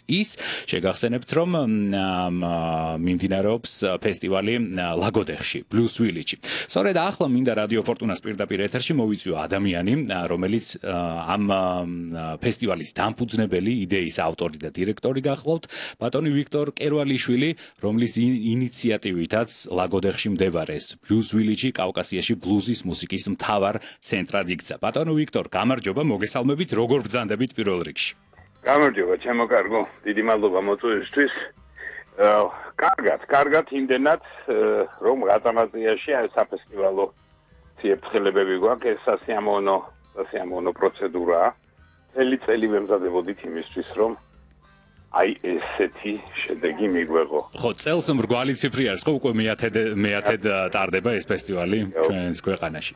ის შეგახსენებთ რომ მიმდინარეობს ფესტივალი ლაგოდეხში Blues Village. სწორედ ახლა მინდა რადიო ფორტუნას პირდაპირ ეთერში მოვიწვიო ადამიანი რომელიც ამ ფესტივალის დამფუძნებელი იდეის ავტორი და დირექტორი გახლავთ ბატონი ვიქტორ კერვალიშვილი რომლის ინიციატივითაც ლაგოდეხში მდებარე Blues Village კავკასიაში ბლუზის მუსიკის მთავარ ცენტრად იქცა. ბატონო ვიქტორ, გამარჯობა, მოგესალმებით, როგორ ბრძანდებით პირველ რიგში? გამარჯობა, ჩემო კარგო, დიდი მადლობა მოწვევისთვის. კარგად იმდენად, რომ გაწამატიაში აი საფესტივალო ციფრებები გვაქვს, ეს სასიამოვნო პროცედურაა. წელი წელი ვემზადებოდით იმისთვის, რომ აი ესეთი შედეგი მიგვეღო. ხო, წელს მრგვალი ციფრი არის, ხო, უკვე მეათედ ტარდება ეს ფესტივალი ჩვენს ქვეყანაში.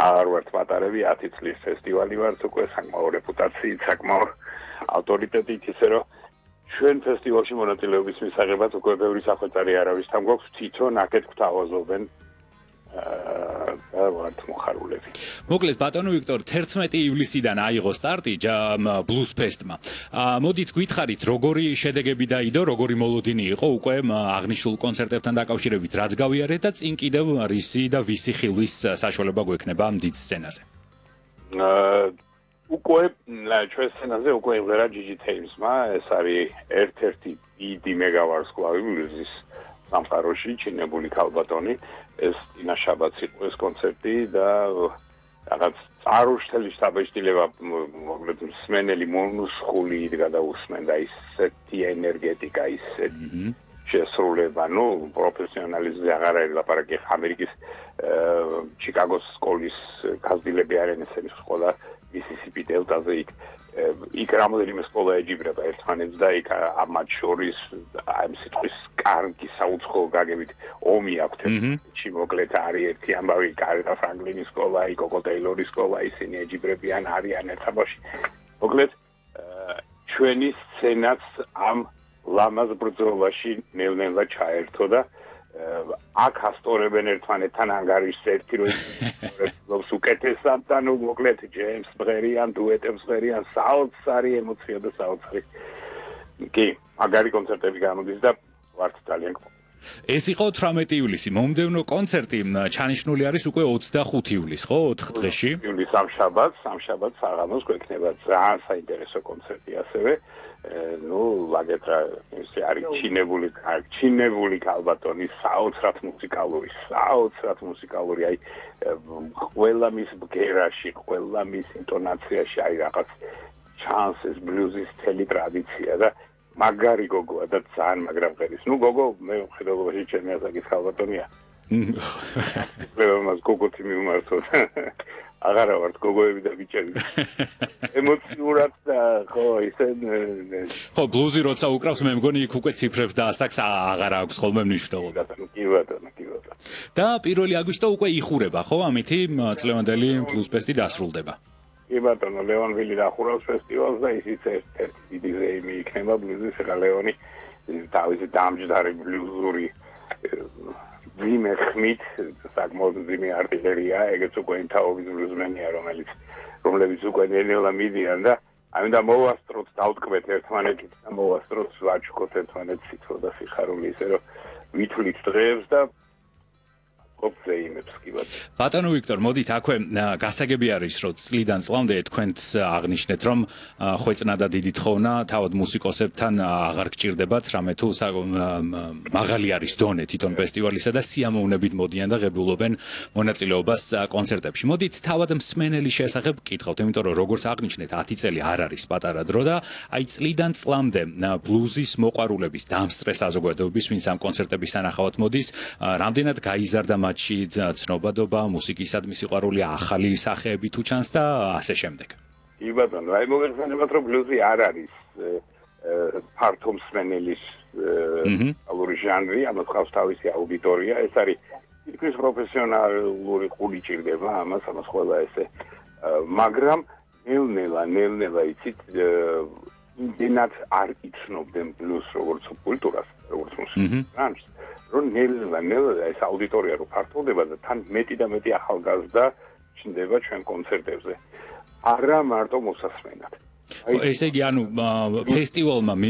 არ ვართ პატარები, 10 წლის ფესტივალი ვართ, უკვე საკმაო რეპუტაციით, საკმაო ავტორიტეტით, ისე რომ ჩვენ ფესტივალში მონაწილეობის მისაღებად უკვე ბევრი სახელწარი არავის თან გვაქვს, თვითონ აქეთ გვთავაზობენ ვართ მოხარულები. მოკლედ ბატონო ვიქტორ 11 ივლისიდან აიღო სტარტი Blues Fest-მა. მოდით გითხარით როგორი შედეგები დაიდო, როგორი მოლოდინი იყო უკვე აღნიშნულ კონცერტებთან დაკავშირებით, რაც გავიარეთ და წინ კიდევ რისი და ვისი ხილვის საშუალება გვექნება ამ დიდ სცენაზე. უკვე ჩვენ სცენაზე უკვე იმღერა GG Thames-მა, ეს არის ერთ-ერთი დიდი მეგავარსკვლავი ბლუზის სამყაროში, ჩინებული ქალბატონი. ეს ინა შაბათს იყო ეს კონცერტი და რაღაც წარუშთელი შტაბეშტილება მოკლედ მსმენელი მონუსხული იდგა და უსმენდა ისეთი ენერგეტიკა, ისეთი შესრულება, ნუ პროფესიონალიზმზე აღარ არის ლაპარაკი, ამერიკის ჩიკაგოს სკოლის გაზრდილები არიან ესენი სკოლა მისისიპი დელტაზე იქ რამოდენიმე სკოლა ეჯიბრება ერთმანეთს და იქ ამათ შორის ამ სიტყვის კარგი საუცხოო გაგებით ომი აქვთ ჩი მოკლედ არის ერთი ამბავი კარეტა ფრანგლინის სკოლა, კოკო ტეილორის სკოლა, ისინი ეჯიბრებიან არიან ერთაბაში. მოკლედ ჩვენი სცენაც ამ ლამაზ ბრძოლაში ნელ-ნელა ჩაერთო და აქ ასწორებენ ერთმანეთთან ანგარიშს ერთი რომ ლობს უკეთესად და ნუ მოკლედ ჯეიმს მღერიან, დუეტებს მღერიან, საოცარი ემოცია და საოცარი. კი, მაგარი კონცერტები გამოდის და ვართ ძალიან გმო. ეს იყო 18 ივლისი. მომდევნო კონცერტი ჩანიშნული არის უკვე 25 ივლისს, ხო, 4 დღეში? ივლისს სამშაბათს საღამოს გვექნება ძალიან საინტერესო კონცერტი ასევე. ნუ ლაგეტრა ეს არის ჩინებული ქალბატონი, საოცრად მუსიკალური, აი ყველა მის ბგერაში, ყველა მის ინტონაციაში აი რაღაც ჩანს ეს ბლუზის თელი ტრადიცია და მაგარი გოგოა და ძალიან მაგრა მღერის. ნუ გოგო მე მხედველობაში ჩემი ასაკის ქალბატონია. მას გოგოთი მიმართო. აღარა ვართ გოგოები და ბიჭები. ემოციურად და ხო ისე ხო ბლუზი როცა უკრავს მე მგონი იქ უკვე ციფრებს და ასაკს აღარ აქვს ხოლმე მნიშვნელობა. კი ბატონო. და 1 აგვისტო უკვე იხურება ხო ამითი წლევანდელი Blues Fest-ი დასრულდება. კი ბატონო, ლეონვილი დახურავს ფესტივალს და ისიც ერთ-ერთი დიდი ზეიმი იქნება ბლუზის, ეხლა ლეონი თავისი დამჯდარი ბლუზური ძიმე ხმით, საკმაოდ ძიმე არტილერია, ეგეც უკვე ინთაობის ბლუზმენია, რომლებიც უკვე ნელ-ნელა მიდიან და ამიტომ მოვასწროთ, დავტკბეთ ერთმანეთით და მოვასწროთ, ვაჩუქოთ ერთმანეთს სიტყვა და სიხარული, ისე რომ ვითვლით დღეებს და ბატონო ვიქტორ, მოდით აქვე გასაგები არის, რომ წლიდან წლამდე თქვენც აღნიშნეთ, რომ ხვეწნა და დიდი თხოვნა თავად მუსიკოსებთან აღარ გჭირდებათ, რამე თუ მაღალი არის დონე თვითონ ფესტივალისა და სიამოვნებით მოდიან და ღებულობენ მონაწილეობას კონცერტებში. მოდით თავად მსმენელის შესახებ გკითხავთ, იმიტომ რომ როგორც აღნიშნეთ, 10 წელი არ არის პატარა დრო და აი წლიდან წლამდე ბლუზის მოყვარულების დამსწრე საზოგადოების, ვინც ამ კონცერტების სანახავად მოდის, რამდენად გაიზარდა მათში ცნობადობა, მუსიკისადმი სიყვარული, ახალი სახეები თუ ჩანს და ასე შემდეგ. კი ბატონო, აი მოგეხსენებათ რომ ბლუზი არ არის ფართო მსმენელის ალური ჟანრი, ამას ყავს თავისი აუდიტორია, ეს არის თითქმის პროფესიონალური ყური ჭირდება ამას ყველა ესე. მაგრამ ნელ-ნელა იცით იმდენად არ იცნობდნენ ბლუზს როგორც კულტურას, როგორც მუსიკის ჟანრს. რომ ნელ-ნელა ეს აუდიტორია რო ფართოვდება და თან მეტი და მეტი ახალგაზრდა ჩნდება ჩვენ კონცერტებზე. არა მარტო მოსასმენად. ესე იგი, ანუ ფესტივალმა